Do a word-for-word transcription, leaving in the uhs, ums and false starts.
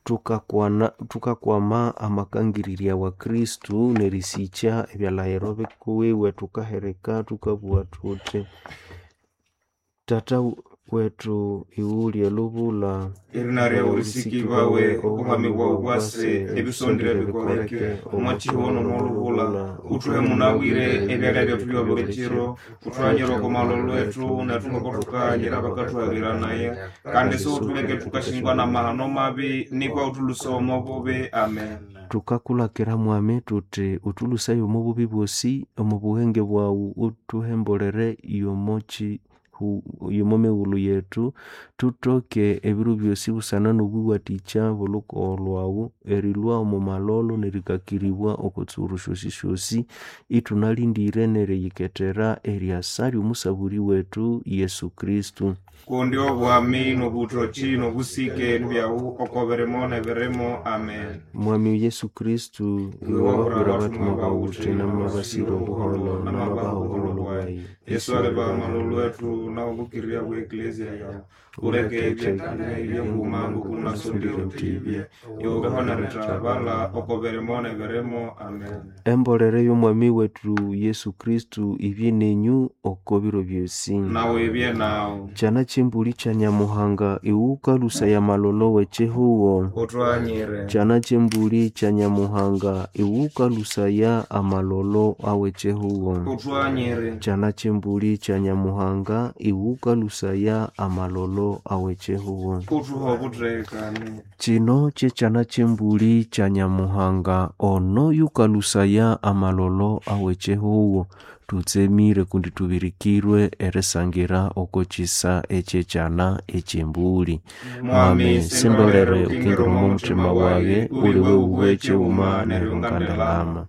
Tukakwana tukakwama amakangirirya wa Kristu n'erisikya ebyalahiro bikuwiwe tukahereka tukabugha thuthi Tata wetu iwuli elubula Erina ryawe risikibawe obuhami bwawu bwase ebisondere bikoleke omwachihono n'olubula uthuhe munabwire ebyalya byethu byobuli kiro uthuhanyire oko malolo lwethu nethu ngoko thukahanyira abakathuhabiranaye kandi siwuthuleke thukashingwa n'amahano mabi nikwa uthuluse omo bubi amen tukakulakira mwami tuthi uthulusaye omo bubi bwosi omo buhenge bwawu uthuhembolere yomochi yomo mighulhu yethu thutoke ebiro byosi busana n'obuwathikya bw'olhukogo lhwawu erilhwa omo malolo nerikakiribwa oko tsuru syosisyosi ithunalindire neriyikethera eryasa ly'omusaburi wethu Yesu Kristu kundi obwami n'obuthoki n'obusike nibyawu oko birimo n'ebirimo amen Mwami Yesu Kristu iwe wabwira abatumwa bawu uthi namabasire obuholo namabaha obuholo bwayi yesu alibaha malolo lwethu nawubukirya bwa eklezia yawu uleke ebyekane ebyenguma ngokunasondire utibye iwubeho nerithabala oko birimo n'ebirimo amen Embolere y'omwami wetu Yesu Kristu ibye nenyu oko biro byosi nawe ibye nawu Kyana kyembuli kya Nyamuhanga iwukalusaya malolo w'ekihugo uthuhanyire Kyana kyembuli kya Nyamuhanga iwukalusaya amalolo aw'ekihugo uthuhanyire Kyana kyembuli kya Nyamuhanga iwukalusaya amalolo aw'ekihugo uthuhe obuthekane Kino kyekyana kyembuli kya Nyamuhanga ono yukalusaya amalolo aw'ekihugo tutsemire kundi tubirikirwe erisangira oko kisa ekyekyana ekyembuli mwami sindolere ukingira omo muthima wage uli wewu ekighuma neryo ngandalama